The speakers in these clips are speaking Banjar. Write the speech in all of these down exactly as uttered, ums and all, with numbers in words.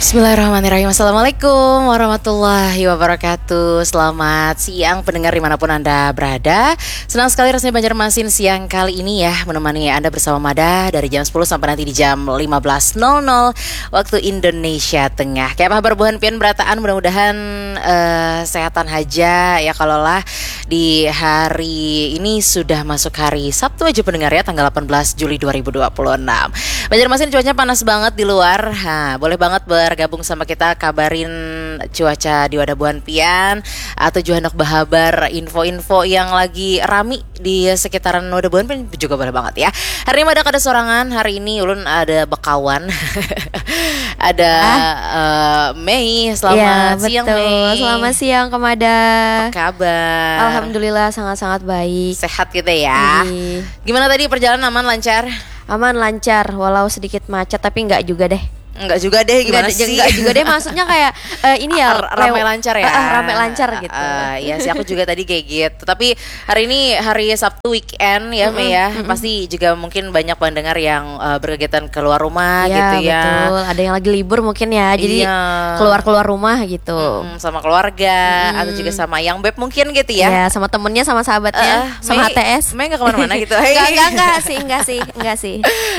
Bismillahirrahmanirrahim. Assalamualaikum warahmatullahi wabarakatuh. Selamat siang pendengar dimanapun Anda berada. Senang sekali rasanya Banjarmasin siang kali ini ya menemani Anda bersama Mada dari jam sepuluh sampai nanti di jam lima belas nol nol waktu Indonesia Tengah. Kayak apa kabar buhan pian berataan? Mudah-mudahan eh, sehatan haja ya kalau lah di hari ini sudah masuk hari Sabtu aja pendengar ya tanggal delapan belas Juli dua ribu dua puluh enam. Banjarmasin cuacanya panas banget di luar. Ha, boleh banget bergabung sama kita kabarin cuaca di wadah buhan pian atau juga hendak bahabar info-info yang lagi rami di sekitaran wadah buhan pian juga boleh banget ya. Hari ini ada kada sorangan, hari ini ulun ada bekawan. Ada eh, Mei. Selamat Ya, siang betul. Mei. Selamat siang, Kemada. Apa kabar? Alhamdulillah sangat-sangat baik. Sehat kita ya. Ih, Gimana tadi perjalanan, aman, lancar? Aman, lancar, walau sedikit macet tapi nggak juga deh. Enggak juga deh, gimana Nggak, sih? nggak juga deh, maksudnya kayak eh, ini ya R- ramai lew- lancar ya? Ah, ah, ramai lancar gitu. Ah, iya sih, aku juga tadi kayak gitu. Tapi hari ini hari Sabtu weekend ya, Mei ya. Pasti juga mungkin banyak pendengar yang eh, berkegiatan keluar rumah Iya, gitu ya. Betul. Ada yang lagi libur mungkin ya, jadi Iya. Keluar-keluar rumah gitu. Hmm, sama keluarga atau juga sama yang beb mungkin gitu ya. Ya, sama temennya, sama sahabatnya, Eh, sama Mei, H T S. Mei nggak kemana-mana gitu. Enggak, enggak, enggak sih, enggak sih, enggak sih.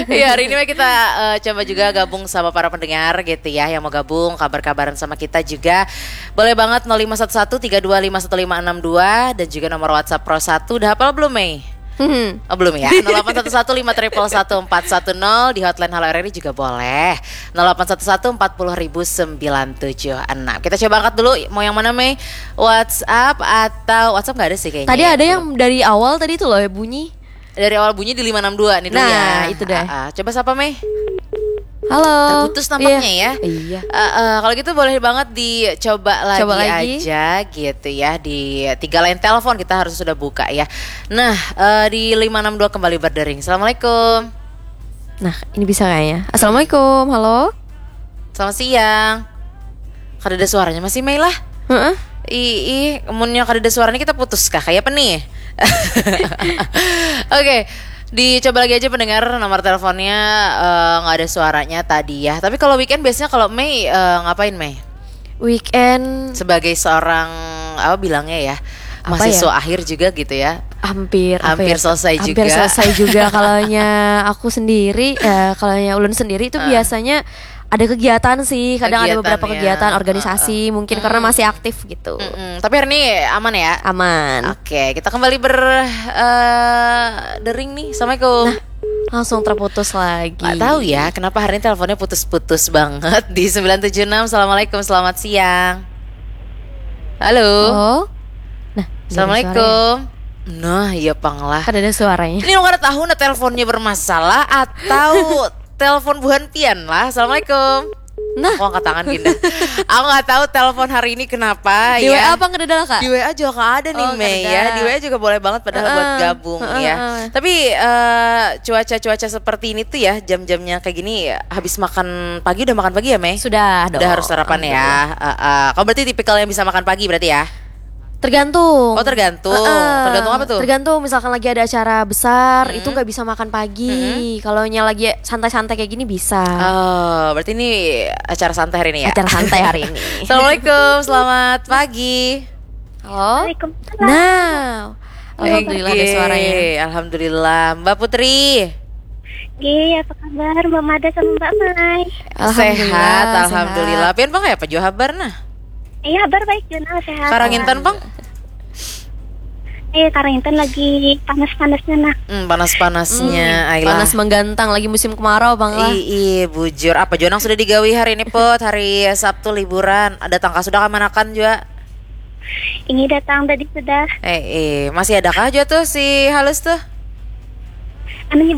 Ya, hari ini mah kita eh, coba juga gabung sama para pendengar gitu ya, yang mau gabung kabar-kabaran sama kita juga. Boleh banget nol lima satu satu tiga dua lima satu lima enam dua dan juga nomor WhatsApp Pro satu. Udah hafal belum, Mei? Hmm. Oh, belum ya. Nol delapan satu satu lima triple satu empat satu nol, di hotline Halo R R I juga boleh. Nol delapan satu satu empat puluh ribu sembilan tujuh enam. Kita coba angkat dulu, mau yang mana, Mei? WhatsApp atau WhatsApp nggak ada sih kayaknya. Tadi Ya, ada belum. Yang dari awal tadi tuh loh, bunyi. Dari awal bunyi di lima enam dua nih dulu Nah, ya. Itu deh. Ah, ah. Coba sapa, Mei? Halo. Terputus nampaknya Iya. Ya. Iya. Eh, eh, kalau gitu boleh banget dicoba lagi, Coba lagi. Aja gitu ya, di tiga line telepon kita harus sudah buka ya. Nah, eh, di lima enam dua kembali berdering. Assalamualaikum. Nah, ini bisa kayaknya. Assalamualaikum, halo. Selamat siang. Kada ada suaranya masih, Mei lah. Heeh. Ih, ih, munnya kada ada suaranya kita putus kah? Kayak apa nih? Oke, dicoba lagi aja pendengar, nomor teleponnya eh, nggak ada suaranya tadi ya. Tapi kalau weekend biasanya kalau Mei eh, ngapain, Mei? Weekend Sebagai seorang apa bilangnya ya, Apa mahasiswa ya? Akhir juga gitu ya. Hampir apa Hampir ya? selesai Hampir juga. Selesai juga. Kalaunya aku sendiri, eh, kalaunya ulun sendiri itu biasanya ada kegiatan sih. Kadang ada beberapa Kegiatan ya. Kegiatan organisasi mungkin karena masih aktif gitu. Mm-mm. Tapi hari ini aman ya? Aman. Oke, kita kembali ber eh, dering nih. Assalamualaikum. Langsung terputus lagi. Nggak tahu ya kenapa hari ini teleponnya putus-putus banget di sembilan tujuh enam. Assalamualaikum, selamat siang. Halo. Oh. Nah, Assalamualaikum. Nah, iya pang lah. Kada ada suaranya. Ini orang tahu nah teleponnya bermasalah atau telepon buhan pian lah. Assalamualaikum. Nah. Aku angkat tangan gini. Aku nggak tahu telepon hari ini kenapa Di ya. W A apa nggak ada lah, Kak? Di W A juga nggak ada nih, Oh, Mei nggak ya. ada. Di W A juga boleh banget padahal buat Heeh. Gabung Heeh, ya. heeh. Tapi eh, cuaca-cuaca seperti ini tuh ya, jam-jamnya kayak gini ya, habis makan pagi udah makan pagi ya, Mei? Sudah dong. Udah harus sarapan ya. Heeh. Kau berarti tipikal yang bisa makan pagi berarti ya? Tergantung. Oh, tergantung. Heeh. Tergantung apa tuh? Tergantung, misalkan lagi ada acara besar, itu nggak bisa makan pagi. Kalau nya lagi santai-santai kayak gini bisa. Oh, berarti ini acara santai hari ini ya? Acara santai hari ini. Assalamualaikum, selamat pagi. Halo. Waalaikumsalam. Nah, alhamdulillah ada Oke, suaranya. Alhamdulillah, Mbak Putri. Gih, apa kabar Mbak Mada sama Mbak Mai? Alhamdulillah, Sehat, alhamdulillah. Pian pang ya, apa jua habar nah? Iya, kabar baik Juna, sehat. Karangintan pang? Eh, Karangintan lagi panas-panasnya nah. Hmm, panas-panasnya, Hmm, ailah. Panas menggantang, lagi musim kemarau bang lah. Ih, ih, bujur. Apa jua nang sudah digawi hari ini, Put? Hari Sabtu liburan. Ada tangka sudah kamanakan juga? Ini datang tadi sudah. Eh, eh, masih ada kah juga tuh si halus tuh? Anu nyi,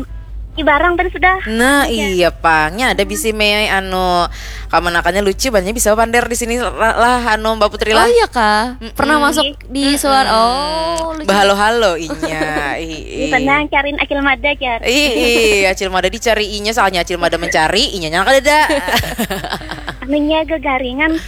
nyi barang tadi sudah. Nah, iya pang. Nya ada bisi Mei anu kamanakannya lucu, banyak bisa pander di sini lah, lah, anu Mbak Putri Oh lah. Iya kah? Pernah masuk di suara. Oh, lucu. Bahalo-halo inya. Ih, ih. Tenang, cariin Acil Mada, jar. Ih, ih, Acil Mada dicari inya, soalnya Acil Mada mencari inya, nyangka ada. Anunya gagaringan.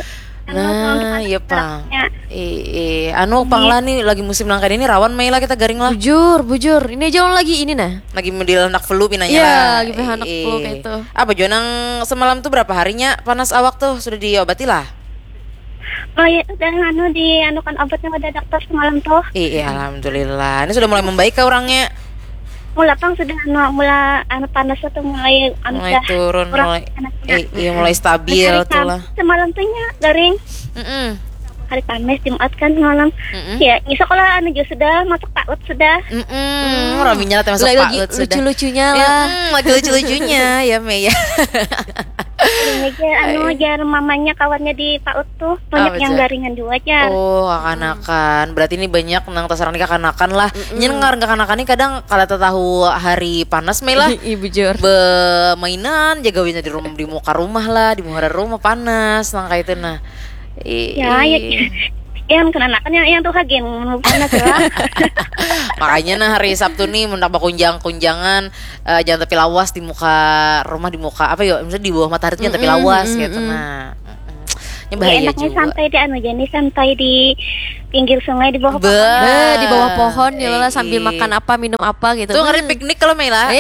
Nah, iya pang. Eh, eh. Anu pang lah nih, lagi musim nang kaya ini rawan mai lah kita garing lah. Bujur, bujur. Ini aja ulun lagi ini nah. Lagi model anak flu pinanya lah. Iya, lagi anak flu kaya itu. Apa jua nang semalam tuh berapa harinya panas awak tuh sudah diobati lah? Oh iya, udah anu dianukan obatnya pada dokter semalam tuh. Iya, alhamdulillah. Ini sudah mulai membaik kah orangnya? Mula pang sudah anu, mula anu panasnya tuh mulai anu mulai turun, mulai eh, iya mulai stabil tuh lah. Semalam tuh nya garing. Mm-mm. Hari Kamis, Jumat kan semalam. Mm-mm. Ya, ngisuk lah anu juga sudah masuk paut sudah. Mm-mm. Raminya lah masuk paut sudah. Lucu-lucunya lah. Mm-mm, lagi lucu-lucunya ya, Mei ya. Ini aja anu ajar mamanya kawannya di paut tuh banyak yang garingan juga aja. Oh, kakanakan. Berarti ini banyak nang tasaran di kakanakan lah. Nyen ngarang kakanakan ini kadang kalau tahu hari panas, Mei lah. Iya bujur. Bemainan jaga di rumah, di muka rumah lah, di muhara rumah panas nang kayak itu nah. Ya, ya. Yang kenanakan yang yang tuh hagen panas lah. Makanya nah hari Sabtu nih mendak bakunjang-kunjangan, eh, jangan tapi lawas di muka rumah, di muka apa ya, misalnya di bawah matahari tuh jangan tapi lawas gitu. Nah, mm-mm. Ini bahaya juga. Enaknya santai di anu aja nih, santai di pinggir sungai di bawah pohon. Be, di bawah pohon ya lah sambil makan apa, minum apa gitu. Tuh ngeri piknik kalau Mei lah.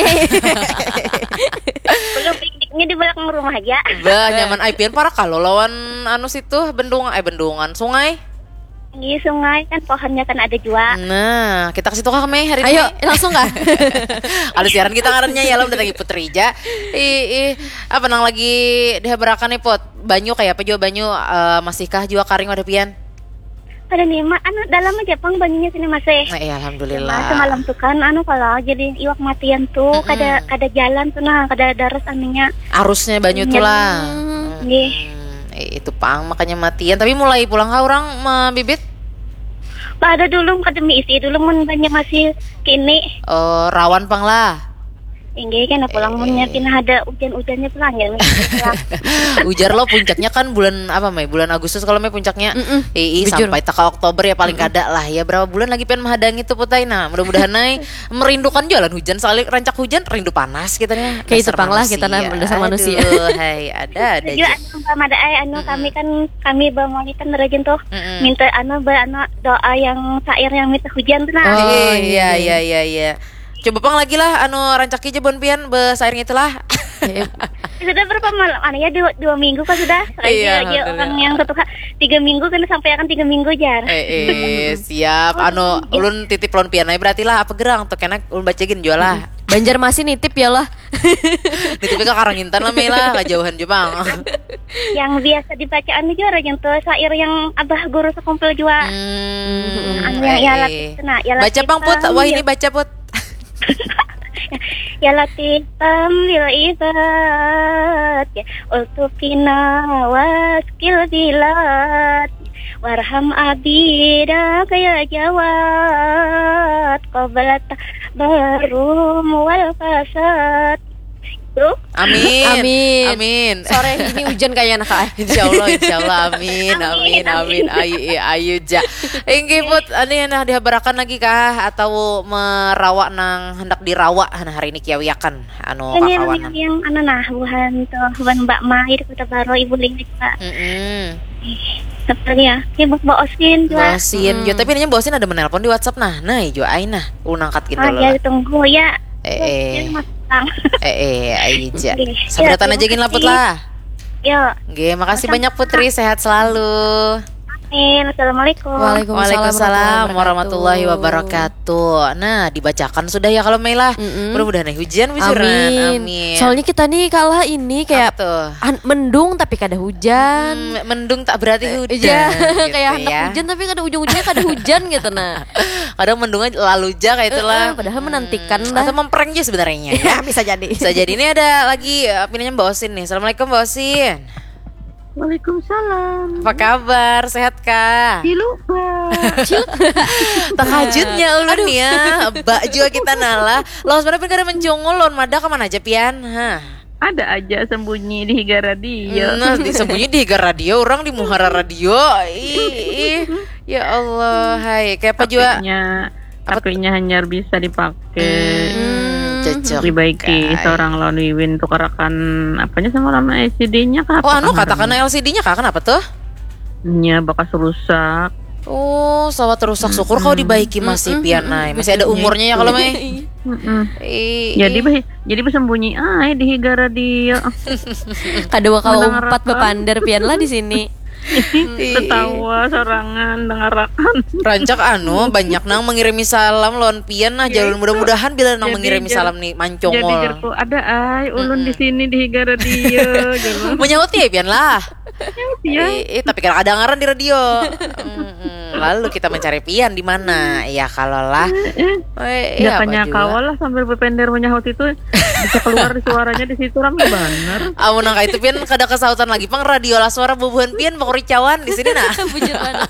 Belum pikniknya di belakang rumah aja. Bah, nyaman ai pian parak kalau lawan anu situ bendung eh bendungan sungai. Iya, sungai kan pohonnya kan ada jua. Nah, kita ke situ kah, Mei, hari ini? Ayo, langsung kah? Ada siaran kita ngarannya ya, lo mendatangi Putri ja. Ih, ih, apa nang lagi dihabarakan nih, Put? Banyu kayak apa jua banyu, eh, masihkah jua karing wadah pian? Ada nih, Ma, anu dalam aja pang banyunya sini masih. Nah, iya, alhamdulillah. Cuma semalam tuh kan anu kalau jadi iwak matian tuh kada kada jalan tuh nah, kada daras anunya. Arusnya banyu tuh lah. Nggih. Hmm, eh, itu pang makanya matian. Tapi mulai pulang kah orang mabibit? Pada dulu kada miisi dulu mun banyak masih kini. Oh, rawan pang lah. Inggih kena pulang munnya pina ada ujan-ujannya pulang ya. Ujar lo puncaknya kan bulan apa, Mei? Bulan Agustus kalau, Mei, puncaknya. Mm-mm. Ii, bujur. Sampai taka Oktober ya paling kada lah ya. Berapa bulan lagi pengen menghadangi tuh, Putai? Nah, mudah-mudahan ai merindukan jualan hujan, soalnya rancak hujan rindu panas kita nih. Kayak itu pang lah kita nah dasar manusia. Aduh, hai, ada ada aja. Anu, Mbak Mada, ai, anu, kami kan kami bamolitan rajin tuh. Mm-mm. Minta anu, ba, anu, doa yang syair yang minta hujan tuh nah. Oh, iya iya iya iya. Coba pang lagi lah, anu, rancaki ja buhan pian besair ngitu lah. Sudah berapa malam? Anu ya, dua, dua minggu kan sudah. Iya, alhamdulillah. Orang yang satu ha-, tiga minggu kan sampai akan tiga minggu jar. Eh, eh, siap. Anu, ulun titip lawan pian ai berarti lah, apa gerang tuh kena ulun baca gin jua lah. Banjarmasin nitip ya lah. Nitip ka Karangintan lah, Mei lah, kajauhan jua pang. Yang biasa dibacaan ni jua yang tuh syair yang abah guru sekumpul jua. Hmm, anu yang ya Latif itu nah, ya Latif. Baca pang, Put. Wah, ini baca, Put. Ya Latif tambil ibad ya ultufina waskil bilad warham abida kaya jawad qabla barum wal fasad. Amin. Amin. Amin. Sore ini hujan kayaknya, Kak. Insya Allah, insya Allah. Amin, amin, amin. Amin, amin. Amin. Ayu, iya, ayu ja. Inggih, Put, ini nah dihabarakan lagi kah atau merawa nang hendak dirawa nah hari ini kiawiakan anu kakawanan. Yang anu nah buhan tuh buhan Mbak Mai di Kota Baru, Ibu Lili juga. Mm-mm. Seperti ya, ini Mbak Osin juga. Mbak Osin juga, tapi ini Mbak Osin ada menelpon di WhatsApp nah. Nah, ijo ai nah. Ulun angkat gitu. Oh, ya, tunggu ya. Eh, eh. Eh, eh, aja. Sabarataan aja gin laput lah. Yo. Oke, makasih banyak Putri, sehat selalu. Amin. Assalamualaikum. Waalaikumsalam warahmatullahi wabarakatuh. Nah, dibacakan sudah ya kalau Mei lah. Mudah-mudahan hujan bujuran. Amin. Soalnya kita nih kalah ini kayak mendung tapi kada hujan. Hmm, mendung tak berarti hujan. Iya, gitu kayak ya. Anak hujan tapi kada ujung-ujungnya kada hujan gitu nah. Kadang mendungnya lalu ja kayak itulah. Padahal menantikan lah. Atau memprank aja sebenarnya ya. Bisa jadi. Bisa jadi. Ini ada lagi, eh, pinanya Mbak Osin nih. Assalamualaikum Mbak Osin. Waalaikumsalam. Apa kabar? Sehat kah? Dilupa. Terkejutnya ulun ya. Mbak juga kita nala. Lawan mana pun kada mencungul, lawan mada kemana aja pian? Hah. Ada aja sembunyi di higa radio. Nah, di, sembunyi di higa radio, orang di muhara radio. Ih, ih. Ya Allah, hai. Kayak apa juga? Apinya hanyar bisa dipakai. Hmm, cocok. Dibaiki seorang lawan Wiwin tukarakan apanya sama lawan L C D-nya kah? Oh, anu katakan L C D-nya kah? Kenapa tuh? Nya bakas rusak. Oh, sawat rusak. Syukur kau dibaiki masih, Pian, ay. Masih ada umurnya ya kalau, Mei. Mm-mm. Ih, Jadi ih. beh, jadi bersembunyi ay di higa radio. Kada kawa Mendengar umpat apa? Bapander pian lah di sini. Ketawa sorangan dengarakan. Rancak anu banyak nang mengirimi salam lawan pian nah, jalur mudah-mudahan bila nang Jadi mengirimi jar- salam nih Jadi mancongol. jarku ada ay ulun di sini di higa radio gitu. Menyauti ya pian lah. Ya. Eh, eh, tapi kan ada ngaran di radio. Mm-mm. Lalu kita mencari pian di mana? Ya kalau lah. Eh, Ya apa tanya juga? Kawa lah sambil berpender menyahut itu bisa keluar di suaranya di situ rame bener. Amun nang itu pian kada kesautan lagi pang radio lah suara bubuhan pian bakuricawan di sini nah. Bujur banget.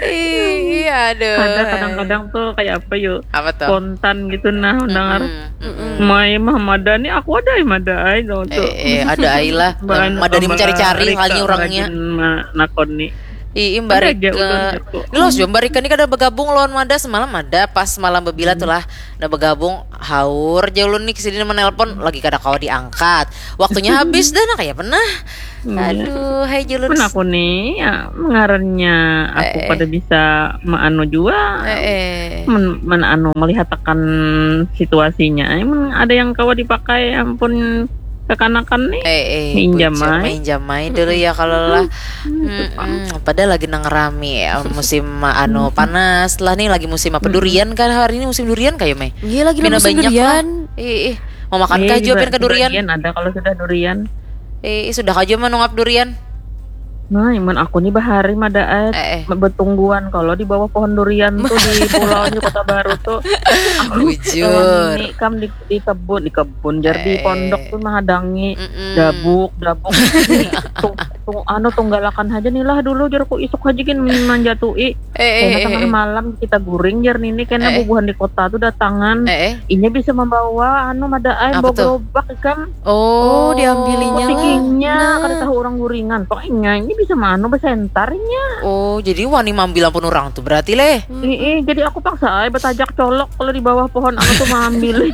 Ih, aduh. Ada kadang-kadang tuh kayak apa yuk Apa tuh? Spontan gitu nah mendengar. Mm-mm. Mai mah mada nih aku ada yang mada ay dong tuh. Eh, eh, ada ai lah. Mbak Anu- Mada ini Mbak mencari-cari Rika kali orangnya. Rajin ma- nakon nih. Ih, Mbak Ada Rika. aja ulun jago. Ini loh, Mbak Rika ini kada bergabung lawan Mada semalam ada pas malam bebila tuh lah. Nah bergabung haur aja ulun nih kesini menelpon lagi kada kawa diangkat. Waktunya habis dah nah kayak pernah. Iya. Aduh, hai Julun. Pun aku nih ya mengarannya aku Eh, eh. Pada bisa maanu jua Eh, eh. men, men anu melihat akan situasinya. Emang ada yang kawa dipakai ampun kekanakan nih. Eh, eh, Minjam bujur, ai. Minjam ai dulu ya kalau lah. Mm-mm. Padahal lagi nang rami ya, musim anu panas lah nih lagi musim apa durian kan hari ini musim durian kayak Mei. Iya lagi Pina musim banyak durian. Ih, ih. Mau makan Iya, kah jua juga pian ke durian? Sebagian ada kalau sudah durian. Eh, sudah kah jua menungap durian? Nah, iman aku nih bahari mada eh, Eh, eh. betungguan kalau di bawah pohon durian tuh di pulau di Kota Baru tuh. Aku Bujur. lawan ini kam di, di kebun, di kebun jar di Eh. pondok tuh menghadangi Mm-mm. dabuk, dabuk. Tung, tung, anu tunggalakan aja nih lah dulu jarku isuk aja gin manjatui. Eh, eh, Kena eh, tengah eh. Malam kita guring jar nini kena Eh, eh. Bubuhan di kota tuh datangan. Eh, eh. Inya bisa membawa anu mada ai Apa bawa tuh? gerobak ikam. Oh. Oh, diambilinya lah. Pikingnya Nah. Kada tahu orang guringan. Pokoknya ini bisa manu besentarnya. Oh, jadi wani mambil ampun orang tuh berarti leh. Ih, jadi aku paksa ai betajak colok kalau di bawah pohon anu tuh maambil.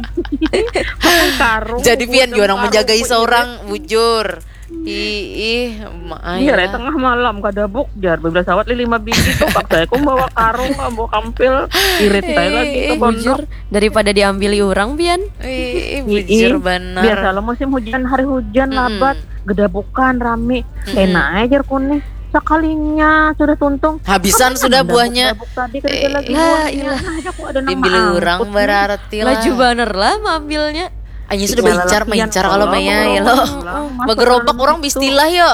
Pakai karung. Jadi pian Bukan jua nang karung, menjagai bukan seorang bujur. Ih, ih, ma- Iya, ai Rai, lah. Tengah malam kada buk jar bebila sawat li lima biji tuh paksa aku bawa karung, bawa kampil, irit aja lagi ke Eh, bujur pondok. Daripada diambili orang pian. Ih, ih, Ih, bujur banar. Biasa lo musim hujan, hari hujan Mm-mm. labat, gedabukan rame. Mm-mm. Kena aja kuning. Sekalinya sudah tuntung. Habisan Kan sudah ada buahnya. Dabuk tadi kada Eh, ada lagi lah, buahnya. ilah. Nah, aku ada nang Diambil orang maangkut nih. Berarti lah. Laju banar lah maambilnya. Hanya sudah Tinggal mencar lalapian mencar kalau kalau Maya mau ya lo. pulang, masuk Bagerobak dalam orang situ. Bistilah yo.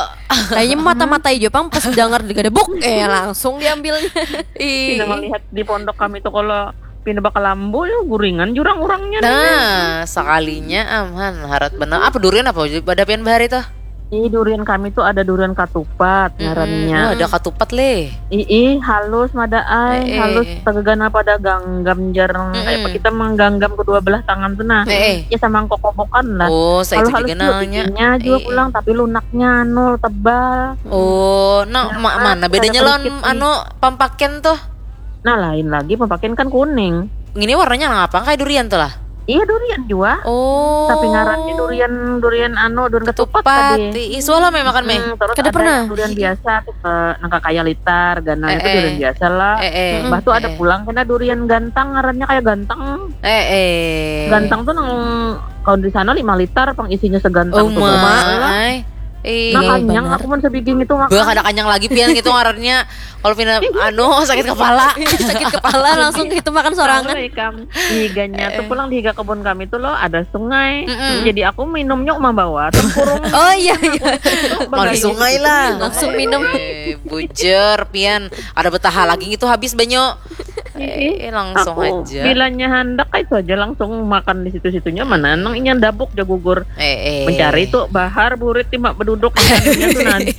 Kayaknya mata-mata aja pang pas dengar gedebuk eh langsung diambilnya. Ih. Pina melihat di pondok kami tuh kalau pina bakal lambu ya guringan jurang orangnya. Nah, sekalinya aman harat benar. Apa durian apa pada pian bahari tuh? Ih, durian kami tuh ada durian katupat ngarannya. Oh, ada katupat leh. Ih, ih, halus mada ai, Eh, eh. Halus tegeganal pada ganggam jar kayak apa Mm-mm. Kita mengganggam kedua belah tangan tuh nah. Eh, eh. Ya sama kokobokan lah. Oh, saya Kalau itu halus juga juga nanya. bikinnya juga Eh, pulang tapi lunaknya anu tebal. Oh, nah, Nah, ma- mana ada bedanya lawan kerikit nih. Anu pampaken tuh? Nah, lain lagi pampaken kan kuning. Ini warnanya nang apa kayak durian tuh lah. Iya durian juga. Oh. Tapi ngarannya durian durian anu durian ketupat Ketupat. tadi. Ih, suah lah memang kan Mei. Hmm, terus Kada ada pernah. Yang durian biasa tuh ke nangka kaya litar, ganal Eh, itu eh. Durian biasa lah. Eh, eh. Bah tuh ada Eh. Pulang kena durian gantang ngarannya kayak gantang. Eh, eh. Gantang tuh nang kalau di sana lima liter pang isinya segantang Oh, tuh ma, Bang. ai. Ih. Nah, Iya, kenyang benar. Aku mau sebiging itu makan. Bah, kada kenyang lagi pian gitu ngarannya. Kalau pina anu sakit kepala. Sakit kepala langsung gitu makan sorangan. Tahu lah ikam. Di higanya tuh pulang di higa kebun kami tuh lo ada sungai. Mm-mm. Jadi aku minumnya membawa tempurung. Oh iya iya. Mandi sungai lah. Langsung minum. Eh, bujur pian. Ada betaha lagi gitu habis banyu. Eh, langsung Aku aja. Bilanya handak itu aja langsung makan di situ-situnya mana nang inya dabuk ja gugur. Eh, eh. Mencari tuh bahar burit tima beduduk di anunya tuh nanti.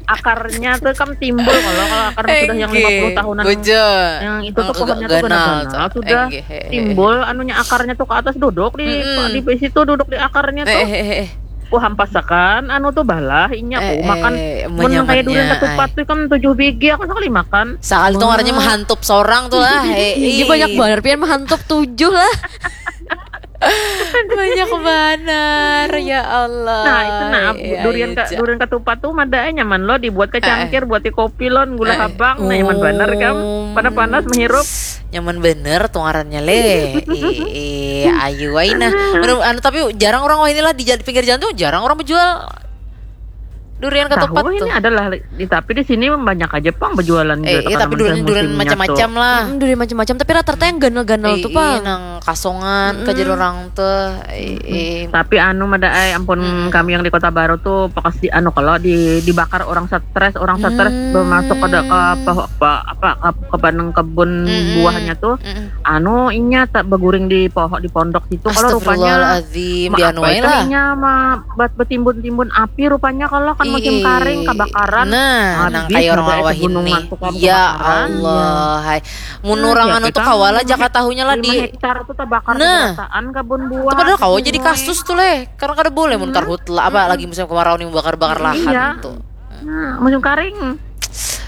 Akarnya tuh kan timbul kalau kalau akar sudah yang Enggih. lima puluh tahunan Bujur. Yang itu tuh Eng-, pohonnya ganal tuh ganal-ganal tuh. sudah Enggih, eh, eh. Timbul anunya akarnya tuh ke atas duduk di Mm-mm. di situ duduk di akarnya Eh, tuh. eh, eh, eh. Wah hampasakan anu tuh balah inya aku Eh, makan eh, men kayak durian menyamannya, ketupat tuh kan tujuh bigi aku sekali makan. Sekali tuh ngarannya menghantup seorang tuh lah. Eh, Iya ih. Banyak banget pian menghantup tujuh lah. Banyak banar, ya Allah. Nah, itu nah, bu- Ya, durian ayo, ka, Ja. Durian ketupat tuh madanya man lo dibuat ke cangkir, buat di kopi lon, gula Eh, habang, nah nyaman banar kam. um, Panas-panas menghirup. Nyaman bener tuh ngarannya leh. Ih, ayu ai nah. Anu, anu, tapi jarang orang wah inilah di jal- pinggir jalan tuh jarang orang menjual durian ketupat Tahu tuh. Ini adalah di tapi di sini banyak aja pang berjualan Eh, juga iya, tapi tanaman durian durian musimnya macam-macam tuh. Lah. Hmm, durian macam-macam, tapi rata-rata yang ganal-ganal Eh, tuh, iya, Pang. Nang kasongan kajar orang tuh. Eh, eh. Tapi anu mada ai ampun, kami yang di Kota Baru tuh pasti anu kalau di dibakar orang stres, orang stres Hmm. bermasuk ke ke pohon apa apa ke, ke banang kebun Mm-mm. buahnya tuh Mm-mm. Anu inya tak beguring di pohon di pondok situ kalau rupanya Astagfirullahaladzim, ma- di anu apa aja itu lah. Inya ma- buat betimbun-timbun api rupanya kalau kan musim Ih, karing kebakaran. Nah, Habis nang kayak orang mada awah itu gunung ini. Mantun kan Ya kebakaran. Allah, hai. Mun Nah, orang siapa anu tuh tahu kawalah jaka tahunya lah lima di hektar tuh terbakar Nah. keberataan kebun buah. Itu padahal kawa gitu, jadi Boy. Kasus tuh leh. Karena kada boleh mun karhutla apa lagi musim kemarau nih bakar-bakar lahan Iya. Tuh. Nah, musim karing.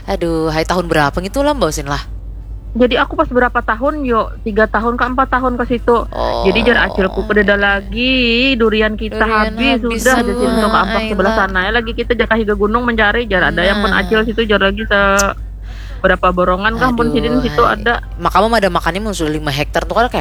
Aduh, hai tahun berapa gitu lah Mbak Usin lah. Jadi aku pas berapa tahun yo, tiga tahun ke empat tahun ke situ. Oh. Jadi jar acilku kededa lagi, durian kita Durian habis, habis sudah di semua, situ ke ampak ai sebelah lah. Sana ya lagi kita jaka higa gunung mencari jar ada yang pun Nah. Acil situ jar lagi se berapa borongan kah pun Aduh, sidin situ hai. Ada. Maka mah ada makannya mun sudah lima hektar tuh kada kayak